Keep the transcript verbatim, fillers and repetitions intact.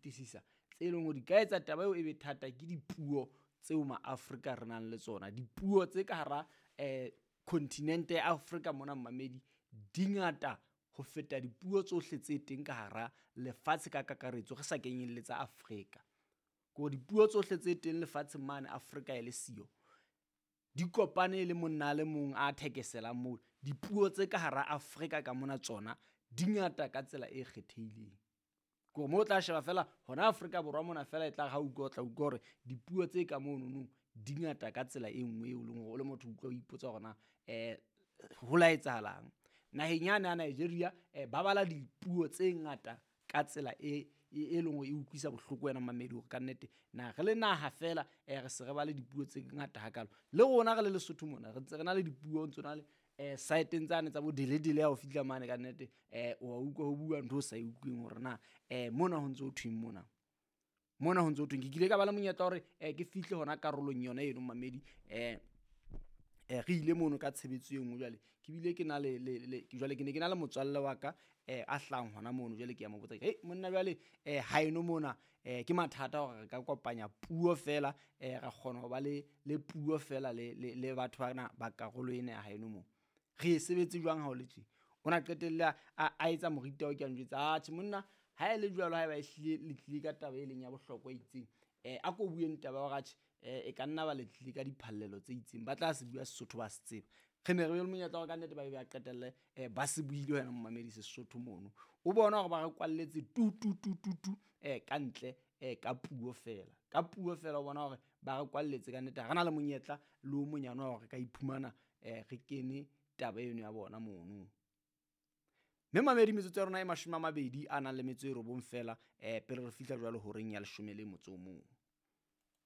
fetisisa tse leng hore di ka etsa taba eo e be thata ke dipuo tseo maAfrika re nang le tsona. Dipuo tse ka hara um kontinente ya Afrika mona mmamedi di ngata ho feta dipuo tsohle tse teng ka hara lefatshe ka kakaretso re sa kenyelletsa Afrika. Ke hore dipuo tsohle tse teng lefatsheng mane Afrika e le siyo di kopane le monna a le mong a thekeselang moo. Dipuo tse ka hara Afrika ka mona tsona di ngata ka tsela e kgethehileng. Ke hore moo o tla sheba fela hona Afrika Borwa mona fela e tla re ha utlwa o tla utlwa hore dipuo tse ka monono di ngata ka tsela e nngwe eo leng hore o le motho o utlwa o ipotsa hore na um ho la etsahalang. Naheng yane ya Nigeria um ba bala dipuo tse ngata ka tsela e e leng hore e utlwisa bohloko wena mamedi hore kannete na re le naha fela um re se re ba le dipuo tse ngata hakalo. Le rona re le Lesotho mona re ntse re na le dipuo ntso na le um saeteng tsane tsa bo deledele ha o fihla mane kannete um wa utlwa ho bua ntho o sa e utlweng hore na um mona ho ntso ho thweng mona. Mona ho ntso ho thweng. Ke kile ka ba le monyetla hore um ke fihle hona karolong yona eno mamedi um re ile mono ka tshebetso e nngwe jwale ke bile ke na le le jwale ke ne ke na le motswalle wa ka um a hlahang hona mono jwale ke a mo botsa hei monna jwale um haeno mona um ke mathata hore re ka kopanya puo fela um ra kgona ho ba le le puo fela le le le batho bana ba karolo ena ya haeno moo. Re e sebetse jwang ha o le tje? O na qetelle a a etsa morita o ke a njwetsa atjhe monna ha e le jwalo haeba ehlile le tlile ka taba e leng ya bohlokwa e itseng um a ko bueng taba ya hore atjhe um e ka nna ba le tlile ka diphallelo tse itseng ba tla se bua Sesotho ba se tseba. Re ne re be le monyetla wa ka nnete ba be ba qetelle um ba se buile wena momamedi Sesotho mono. O bona hore ba re kwalletse tu tu tu tu tu um ka ntle um ka puo fela. Ka puo fela o bona hore ba re kwalletse ka nnete ha re na le monyetla le o monyane wa hore re ka iphumana um re kene taba eno ya bona mono. Mme mamedi metsotso ya rona e mashome a mabedi a nang le metso e robong fela um pele re fihla jwalo horeng ya leshome le motso o mong.